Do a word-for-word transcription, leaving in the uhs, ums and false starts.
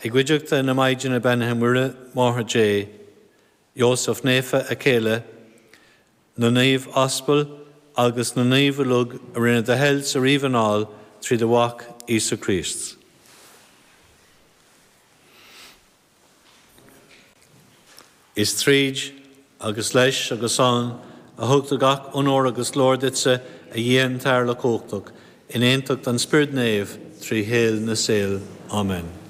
I gcuideachta na Maighdine Beannaithe Muire Máthair Dé, Iósaf Naofa a céile, na naoimh aspal agus na naoimh uilig a rinne do thoil sa ríomh anall trí do mhac Íosa Críost. Is tríd agus leis agus ann a thugtar gach onóir agus glóir duitse a Dhia an tAthair Uilechumhachtach, in aontacht an Spioraid Naoimh trí shaol na saol. Amen.